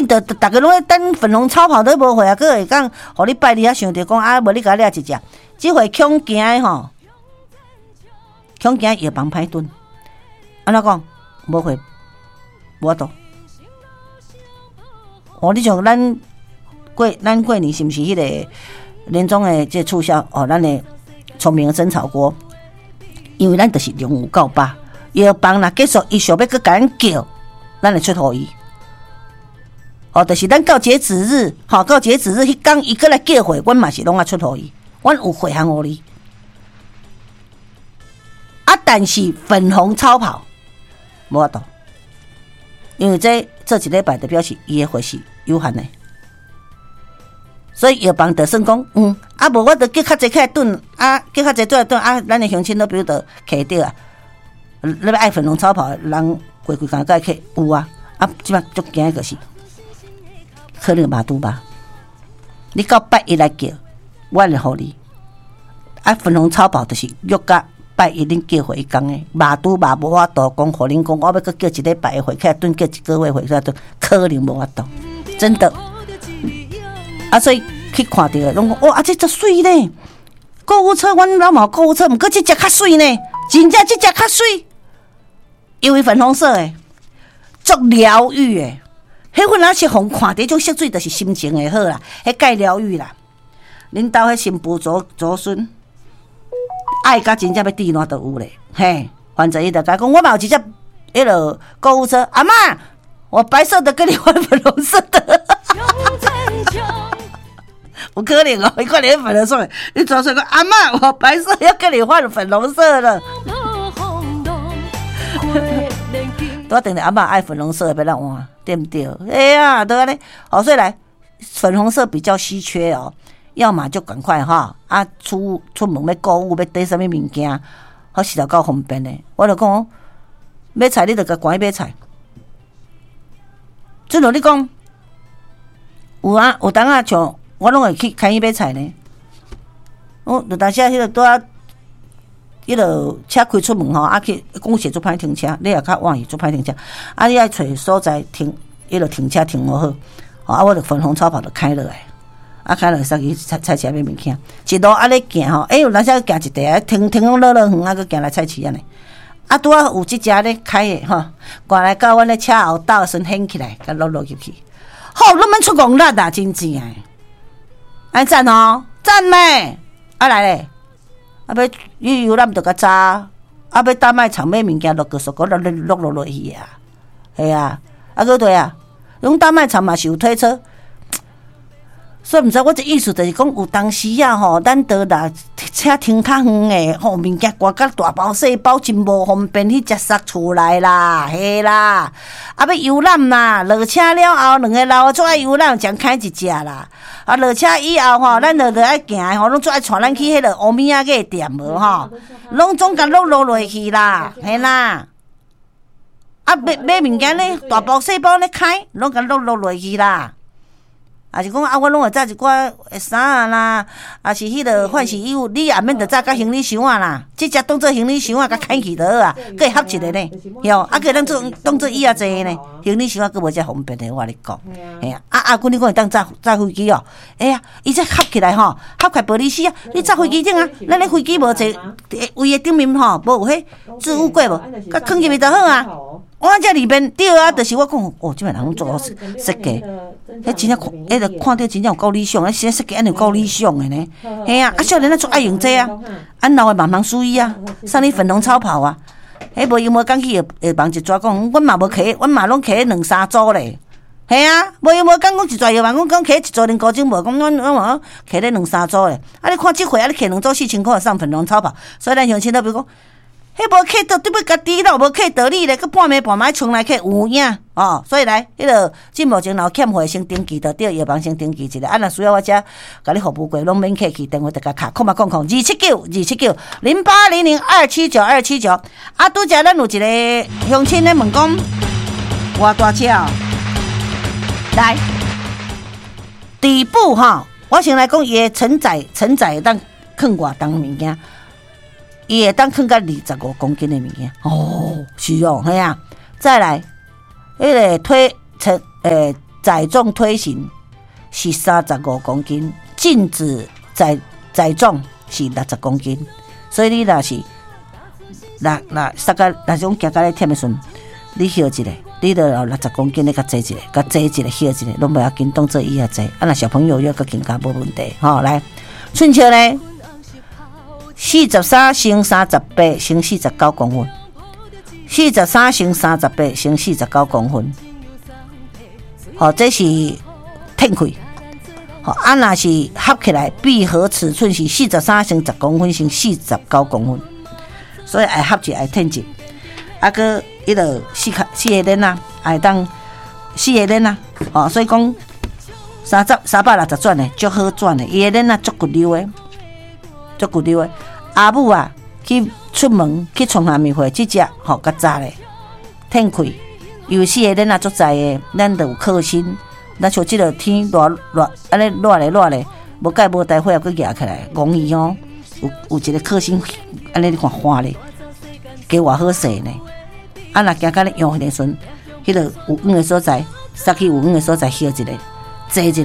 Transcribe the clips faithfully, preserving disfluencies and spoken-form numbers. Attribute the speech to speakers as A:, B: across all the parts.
A: 緊著逐家攏咧等粉紅超跑都無貨啊，閣會當予你拜二仔想著講啊，無你共我掠一隻，這回恐驚的吼，恐驚藥房歹囤，按怎講？無貨，無法度。哦，你像咱過咱過年是毋是彼個年終的這個促銷？哦，咱的聰明的蒸炒鍋，因為咱就是量有夠飽，藥房若結束，伊想欲閣共咱叫，咱會出予伊。哦，就是咱到截止日，吼，到截止日彼工伊閣來叫貨，阮嘛是攏愛出予伊，阮有貨通予你。啊，但是粉紅超跑無法度，因為這做一禮拜就表示伊的貨是有限的，所以藥房就算講，嗯，啊無我就叫較濟起來囤，啊叫較濟轉來囤，啊咱的鄉親都比如就揢著啊，你欲愛粉紅超跑的人規規工該去有啊，啊這擺足驚的就是。可能肉拄肉，你到拜一來叫，我會予你。啊，粉紅超跑就是約甲拜一恁叫貨彼工的，肉拄肉無法度講，予恁講，我欲閣叫一禮拜的貨起來囤，叫一個月貨起來囤，可能無法度，真的。啊，所以去看著攏講，哇，啊這足媠呢！購物車，阮老嘛有購物車，毋過這隻較媠呢，真正這隻較媠，因為粉紅色的，足療癒的。彼粉仔是予人看著彼種色水，就是心情會好啦，彼蓋療癒啦。恁兜彼新婦祖祖孫愛甲真正欲滴爛都有咧，嘿。反正伊就共講，我嘛有一隻彼落購物車，阿嬤，我白色的跟你換粉紅色的，有可能哦，伊看你粉紅色，你轉出講阿嬤，我白色要跟你換粉紅色的。拄等著阿嬤愛粉紅色的欲咱換，對毋對？哎呀，都按呢，好，所以來粉紅色比較稀缺哦，要麼就趕快哈啊出出門欲購物欲綴啥物物件，好實在夠方便的。我就講買菜，你就共趕去買菜。正如你講，有啊，有當啊，像我攏會去開去買菜呢。我有當時啊，彼個拄仔，彼個車開出門吼，啊去講是足歹停車，你也較晚去足歹停車，啊你愛揣所在停，彼個停車停予好，啊我就粉紅超跑就開落來，啊開落來駛去菜菜市買物件，一路按呢行吼，欸有當時行一塊，停停攏落落遠啊，閣行來菜市按呢，啊拄仔有這隻咧開的吼，過來到阮咧車後斗時陣掀起來，共落落入去，好，攏免出戇力啊，真正的，按讚哦，讚咩？啊來咧。啊！欲旅遊咱毋著較早，啊！欲大賣場買物件，落個數，閣落落落落去啊，係啊，啊閣對啊，攏大賣場嘛是有推車，所以毋知我這意思就是講，有當時啊吼，咱都若車停較遠的吼，物件掛甲大包細包真無方便，彼才塞厝內啦，嘿啦，啊欲遊覽啦，落車了後，兩个老的足愛遊覽，將開一隻啦。啊，落車以後吼，咱就著愛行吼，攏足愛帶咱去彼個烏米仔個店無吼，攏總共攏落落去啦，嘿啦。啊，買買物件咧，大包細包咧開，攏共攏落落去啦。啊是講啊，我攏會紮一寡衫仔啦，啊是彼個換洗衣物，你也免著紮甲行李箱仔啦，這隻當做行李箱仔，共牽去就好啊，閣會合一個呢，吼，啊閣會當做當做椅仔坐呢，行李箱仔閣無遮方便的，我共你講，嘿啊，啊啊，阮你講會當載載飛機哦，哎呀，伊這合起來吼，合起來玻璃絲啊，你載飛機頂啊，咱咧飛機無坐位的頂面吼，無有彼置物櫃無，共囥入去就好啊。我這裡面對啊，就是我講哦，這擺人攏做好設計，彼真正看，彼個看著真正有夠理想，彼設計按呢有夠理想的呢。嘿啊，啊少年仔足愛用這啊，按老的嘛茫注意啊，送你粉紅超跑啊，彼無閒無工去藥藥房一逝講，阮嘛無摕，阮嘛攏摕兩三組咧。嘿啊，無閒無工講一逝藥房，講講摕一組連高中無，講阮阮嘛摕咧兩三組咧。啊，你看這回啊，你摕兩組四千箍送粉紅超跑，所以咱鄉親都比如講。彼無客到，對欲家己都無客道理咧，閣半暝半暝衝來客有影哦。所以來，彼個這目前若有欠貨，先登記就對，藥房先登記一下。啊，若需要我遮共你服務過，攏免客氣，電話就共敲空八空空二七九二七九零八零零二七九二七九。啊，拄才咱有一個鄉親咧問講，偌大車哦？來，底部吼，我先來講伊的承載承載當囥偌重物件。伊會當囥甲二十五公斤的物件，哦，是哦，嘿啊，再來，彼個推承，欸，載重推行是三十五公斤，禁止載載重是六十公斤。所以你若是若若塞甲，若是講行甲咧忝的時陣，你歇一下，你就有六十公斤，你共坐一下，共坐一下，歇一下，攏袂要緊，當做伊也坐。啊，若小朋友又閣更加無問題，吼，來，寸尺呢，四十三乘三十八乘四十九公分，四十三乘三十八乘四十九公分，吼，這是褪開。吼，啊，若是合起來閉合尺寸是四十三乘十公分乘四十九公分，所以愛合一愛褪一，啊，閣彼个四卡四个鏈仔，會當四个鏈仔，吼，所以講三十三百六十轉的，足好轉的，伊的鏈仔足骨溜的，足骨溜的。阿母啊，去出門去創啥物貨，這隻吼較早咧，褪開，因為四个鏈仔足載的，咱就有靠身。咱像這个天熱熱，按呢熱咧熱咧，無蓋無大火閣舉起來，戇伊哦，有有一個靠身，按呢你看看咧，加偌好勢呢？啊，若行甲咧用彼個時陣，彼个有遠的所在，煞去有遠的所在歇一下，坐一下，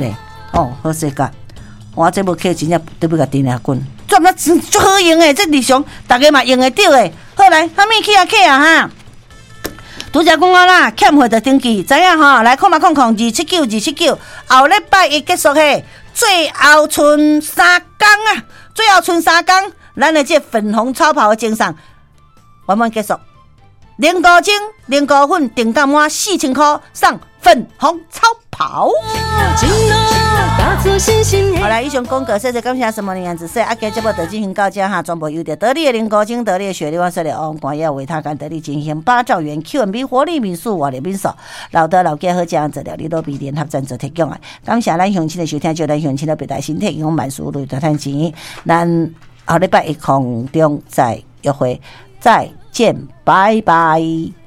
A: 哦，好勢甲。我這無客真正得欲共甜掠滾，轉啊足好用的，這日常逐家嘛用會著的。好來，啥物去啊去啊哈？拄才講啊啦，欠費就登記，知影吼？來，空八空空二七九二七九，後禮拜一結束嘿，最後賰三工啊，最後賰三工，咱的這粉紅超跑的贈送圓滿結束。零糊精、零糊粉，定價滿四千箍送粉紅超跑。好來，以上廣告，謝謝感謝什麼樣子？說啊，今節目就進行到這哈，全部由著得力的零糊精、得力的雪莉、萬色的王冠要維他乾得力進行八兆元 Q and B 活力民宿、活力民宿，老德老家好這樣子料理都比聯合贊助提供的。感謝咱鄉親的收聽，祝咱鄉親的別大身體健康，萬事如意，大趁錢。咱後禮拜一空中再約會，再見，拜拜。